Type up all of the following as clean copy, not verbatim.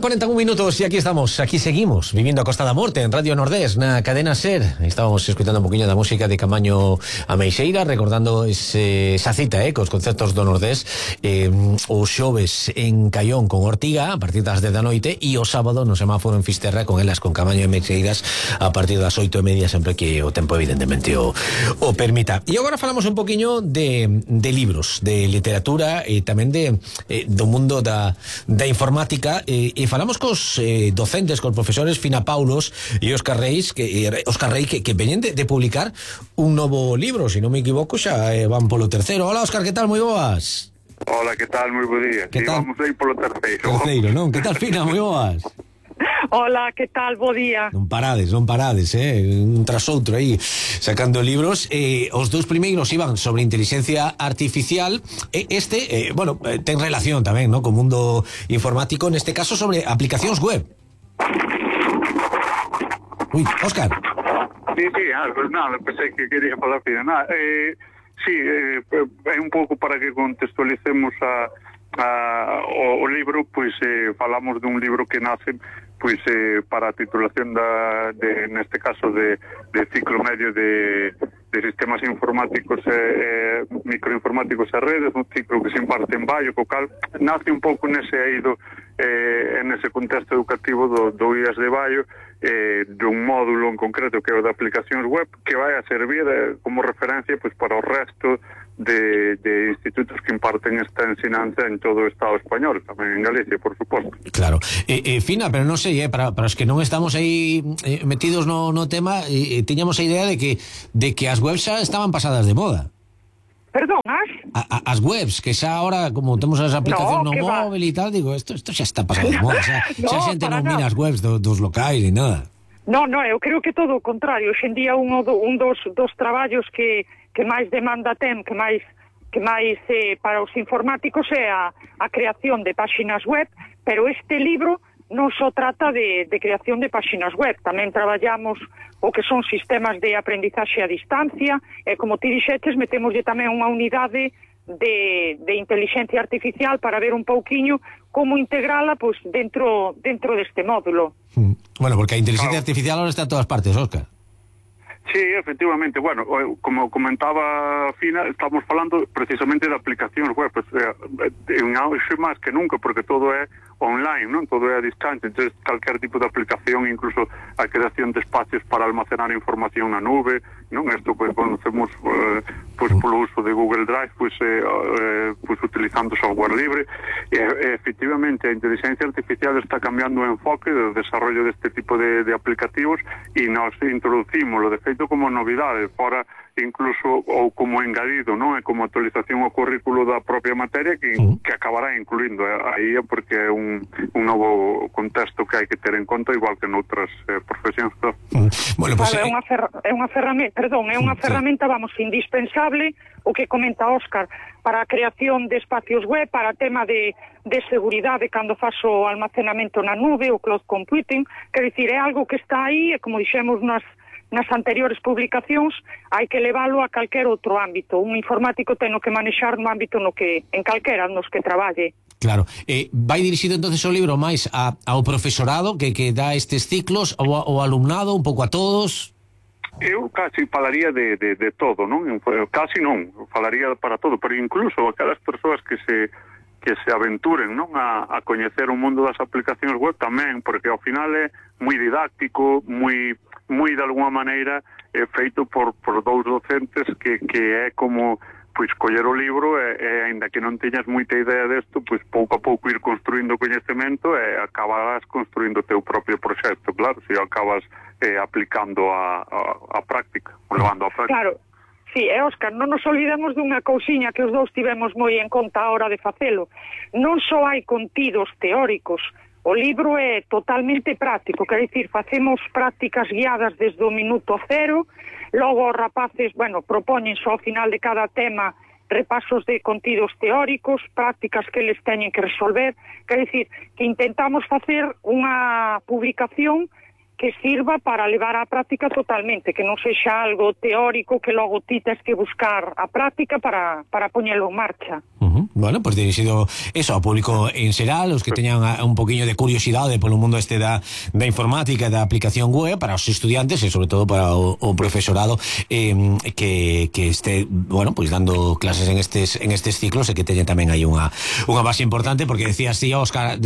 1:41 minutos y aquí estamos, aquí seguimos vivindo a Costa da Morte en Radio Nordés, na cadena SER. Estábamos escutando un poquinho da música de Camaño Ameixeira, recordando esa cita cos concertos do Nordés, o xoves en Caión con Ortiga a partir das 10 da noite e o sábado no semáforo en Fisterra con elas con Camaño Ameixeiras a partir das 8:30, sempre que o tempo evidentemente o permita. E agora falamos un poquinho de libros, de literatura e tamén do mundo da informática, e falamos cos docentes, cos profesores Fina Paulos e Óscar Rey que veñen de publicar un novo libro, se non me equivoco xa van polo terceiro. Hola Óscar, que tal? Moi boas. Hola, que tal? Moi bo día. Sí, vamos aí polo terceiro. Terceiro, non? Que tal, Fina? Moi boas. Hola, que tal? Bo día. Non parades, un tras outro aí sacando libros. Os dous primeiros iban sobre inteligencia artificial, ten relación tamén, ¿no?, co mundo informático, neste caso sobre aplicacións web. Ui, Óscar. Sí, nada, pensei que quería falar Fina. Sí, é un pouco para que contextualicemos o libro, pois falamos dun libro que nace pois para a titulación neste caso de ciclo medio de sistemas informáticos microinformáticos e redes, un ciclo que se imparte en Baio, co cal nace un pouco nese eido en ese contexto educativo do IAS de Baio, dun módulo en concreto que é o de aplicacións web, que vai a servir como referencia pois para o resto de institutos que imparten esta ensinanza en todo o Estado español, tamén en Galicia, por suposto. Claro. Fina, pero non sei, para os que non estamos aí metidos no tema, tiñamos a idea de que as webs xa estaban pasadas de moda. Perdón, as webs, que xa ahora, como temos as aplicacións no móvil e tal, digo, isto xa está pasado de moda, xa xente non mira as webs dos locais ni nada. No, eu creo que todo o contrario. Hoxe en día un dos traballos que máis demanda ten, que máis para os informáticos é a creación de páxinas web, pero este libro non só trata de creación de páxinas web, tamén traballamos o que son sistemas de aprendizaxe a distancia, e como ti dixetes, metemoslle tamén unha unidade de inteligencia artificial para ver un pouquiño como integrala pois dentro deste módulo. Bueno, porque a inteligencia artificial ahora está en todas partes, Óscar. Sí, efectivamente, bueno, como comentaba Fina, estamos falando precisamente de aplicacións web, en auxe máis que nunca, porque todo é online, non? Todo é a distancia, entonces calquer tipo de aplicación, incluso a creación de espacios para almacenar información na nube, non? Isto pues conocemos polo uso de Google Drive, pues utilizando software libre, e efectivamente a inteligencia artificial está cambiando o enfoque do desarrollo deste tipo de aplicativos, e nos introducimos, de feito, como novidade, fora incluso ou como engadido, non? É como actualización ao currículo da propia materia que acabará incluindo aí, porque é un novo contexto que hai que ter en conta, igual que noutras profesións. Bueno, pues, é unha ferramenta, vamos, indispensable, o que comenta Óscar, para a creación de espacios web, para tema de seguridade cando faz o almacenamento na nube, o cloud computing, quer dicir, é algo que está aí, e como dixemos nas anteriores publicacións, hai que leválo a calquer outro ámbito. Un informático ten que manexar no ámbito en calquera nos que traballe. Claro. Vai dirixido entonces o libro máis ao profesorado que dá estes ciclos, ao alumnado, un pouco a todos? Eu casi falaría de todo, non? Casi non, falaría para todo, pero incluso aquelas persoas que se aventuren, non, a coñecer o mundo das aplicacións web tamén, porque ao final é moi didáctico, moi de alguma maneira feito por dous docentes que é como pois coller o libro e aínda que non teñas moita idea desto, pois pouco a pouco ir construindo coñecemento e acabarás construindo o teu propio proxecto, claro, se acabas aplicando a práctica, levando a práctica. Claro. Sí, Óscar, non nos olvidemos dunha cousiña que os dous tivemos moi en conta a hora de facelo. Non só hai contidos teóricos, o libro é totalmente práctico, quer dicir, facemos prácticas guiadas desde o minuto cero, logo os rapaces, propóñense ao final de cada tema repasos de contidos teóricos, prácticas que eles teñen que resolver, quer dicir, que intentamos facer unha publicación que sirva para levar á práctica totalmente, que non sexa algo teórico que logo ti tes que buscar a práctica para poñelo en marcha. Bueno, pues dirixido eso ao público en xeral, os que teñan un poquinho de curiosidade polo mundo este da informática e da aplicación web, para os estudiantes e sobre todo para o profesorado que este, bueno, pues dando clases en estes ciclos e que teña tamén aí unha base importante, porque decías, Óscar,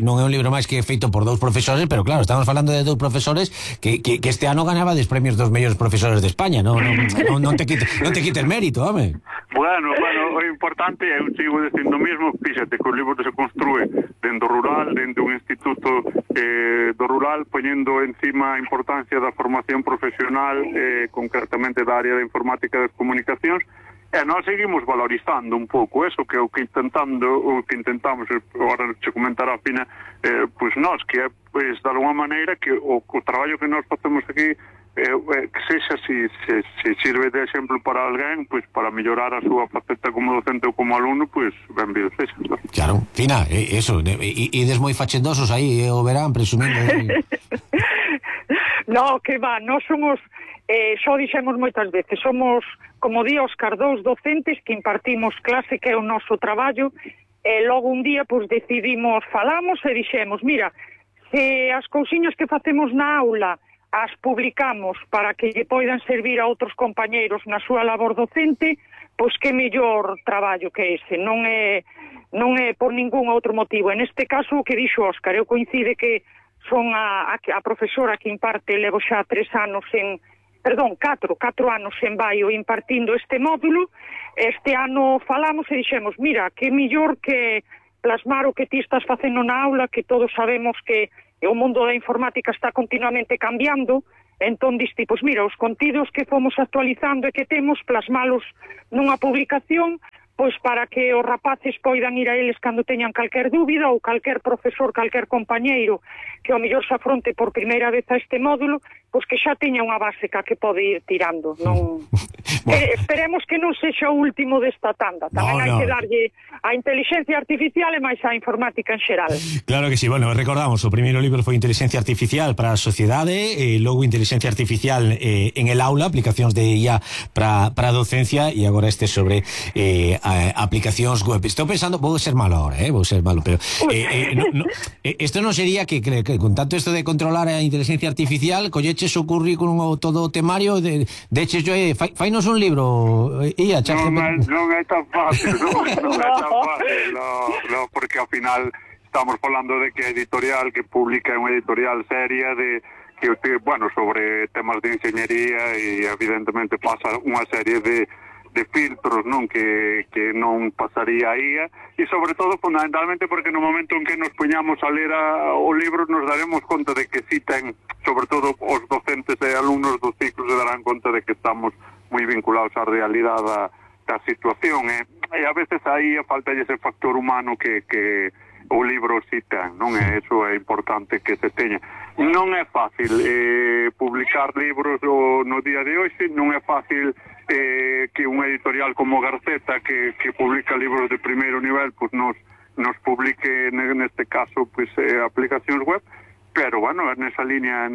non é un libro máis que feito por dous profesores, pero claro, estamos falando de dous profesores que este ano ganaba des premios dos mellores profesores de España, non te quites mérito, home. Bueno, o importante é, eu sigo dicindo mismo, fíxate que o libro se construe dentro rural, dentro un instituto do rural, poñendo encima a importancia da formación profesional, concretamente da área de informática e das comunicacións, e nós seguimos valorizando un pouco eso, que é o que intentamos, agora se comentará a Fina, pois nós, que é, pois, de alguma maneira, que o traballo que nós facemos aquí, que sexa, se sirve de exemplo para alguén, pois para mellorar a súa faceta como docente ou como alumno, pois benvido sexa. Claro, Fina, eso, ides moi fachendosos aí, o verán, presumindo. No, que va, nós somos, xo dixemos moitas veces, somos, como di Óscar, dous docentes que impartimos clase, que é o noso traballo, e logo un día, pois decidimos, falamos e dixemos, mira, se as cousiñas que facemos na aula as publicamos para que lle poidan servir a outros compañeiros na súa labor docente, pois que mellor traballo que ese, non é por ningún outro motivo. En este caso, o que dixo Óscar, eu coincide que son a profesora que imparte, levo xa 4 anos en Baio impartindo este módulo. Este ano falamos e dixemos, mira, que mellor que plasmar o que ti estás facendo na aula, que todos sabemos que o mundo da informática está continuamente cambiando, entón diste, pois mira, os contidos que fomos actualizando e que temos, plasmalos nunha publicación, pois para que os rapaces poidan ir a eles cando teñan calquer dúbida, ou calquer profesor, calquer compañeiro que ao mellor se afronte por primeira vez a este módulo, pois que xa teña unha base que pode ir tirando. Non... esperemos que non sexa o último desta tanda. Tamén hai que darlle a inteligencia artificial e máis a informática en xeral. Claro que sí, bueno, recordamos, o primeiro libro foi Inteligencia Artificial para a Sociedade, logo Inteligencia Artificial en el aula, aplicacións de IA para a docencia, e agora este sobre aplicacións web. Estou pensando, vou ser malo ahora, pero isto non sería que con tanto isto de controlar a inteligencia artificial, colleches o currículum ou todo o temario, deches yo, fainos un libro, IA, non é tan fácil, no, porque ao final estamos falando de que a editorial que publica é unha editorial seria que, bueno, sobre temas de enxeñería, e evidentemente pasa unha serie de filtros, non, que non pasaría a IA, e sobre todo fundamentalmente porque no momento en que nos poñamos a ler o libro nos daremos conta de que si ten, sobre todo os docentes e alumnos dos ciclos se darán conta de que estamos moi vinculados á realidade da situación, e a veces aí falta ese factor humano que o libro si ten, non é? Eso é importante que se teña. Non é fácil publicar libros no día de hoxe, non é fácil que unha editorial como Garceta, que publica libros de primeiro nivel, pues nos publique neste caso pues aplicacións web, pero bueno, nesa línea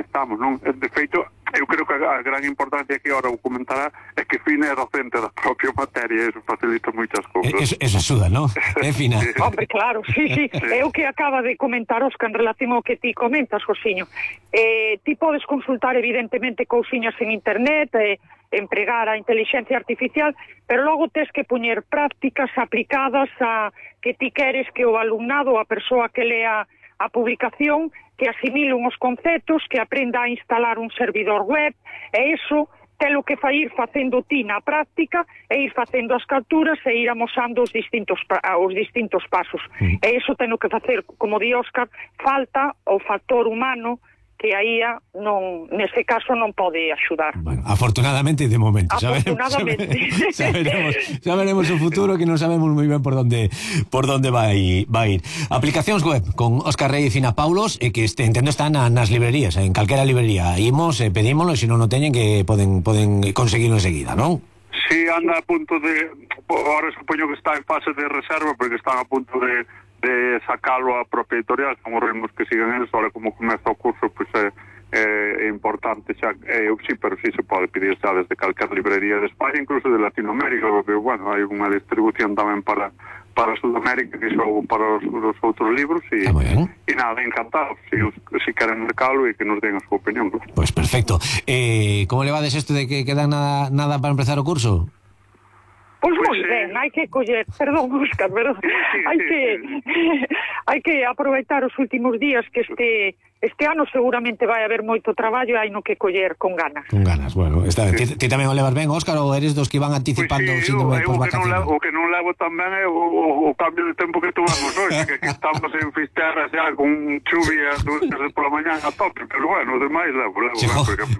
estamos, non? De feito, eu creo que a gran importancia que ahora vou comentar é que Fina é docente da propia materia, e eso facilita moitas cousas. Eso axuda, non? É Fina. Sí. Hombre, claro, sí. É o que acaba de comentar Óscar en relación ao que ti comentas, Josiño. Ti podes consultar evidentemente cousiñas en internet, empregar a inteligencia artificial, pero logo tes que poñer prácticas aplicadas a que ti queres que o alumnado, a persoa que lea a publicación, que asimile uns conceptos, que aprenda a instalar un servidor web, e iso telo que ir facendo ti na práctica, e ir facendo as capturas e ir amosando os distintos pasos. E iso teno que facer, como di Óscar, falta o factor humano, que a IA neste caso non pode axudar. Bueno, afortunadamente de momento. Afortunadamente. Saberemos o futuro, que non sabemos moi ben por onde vai ir. Aplicacións web con Óscar Rey e Fina Paulos, que entendo están nas librerías, en calquera librería. Imos, pedímoslo, e se non o teñen que poden conseguirlo enseguida, non? Sí, anda a punto de... Ahora supoño que está en fase de reserva, porque están a punto de de sacalo a propia editorial, como ritmos que sigan eles, ahora como comeza o curso, pois é importante xa, sí, pero sí se pode pedir xa desde calquer librería de España, incluso de Latinoamérica, porque, bueno, hai unha distribución tamén para Sudamérica, que son para os outros libros, e nada, encantado, si queren mercalo e que nos den a súa opinión. Pues perfecto. Como levades isto de que queda nada para empezar o curso? Pois moi ben, hai que coller, perdón, Óscar, pero hai que aproveitar os últimos días que este ano seguramente vai haber moito traballo e hai no que coller con ganas. Con ganas, bueno. Ti tamén o levas ben, Óscar, ou eres dos que van anticipando o síndrome de posvacaciones? O que non levo tamén é o cambio de tempo que tomamos hoxe, que aquí estamos en Fisterra xa con chuvia pola mañán a tope, pero bueno, o demais levo.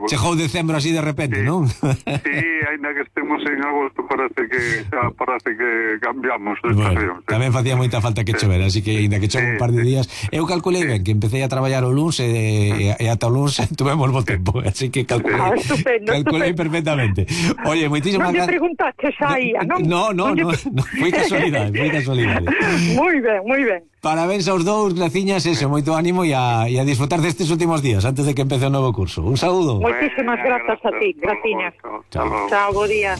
Chegou decembro así de repente, non? Sí, ainda que estemos en agosto parece que cambiamos de estación. Tamén facía moita falta que chover, así que ainda que chove un par de días, eu calculei ben que empecé a traballar o luns e ata o luns tuvemos bo tempo, así que calculei perfectamente. Oye, moitísimas gracias. Non lle preguntaste xa aí, non? No, foi casualidade. Moi ben. Parabéns aos dous, graciñas, eso, moito ánimo e a disfrutar destes últimos días antes de que empece o novo curso. Un saúdo. Moitísimas grazas a ti, graciñas. Chao, bo día.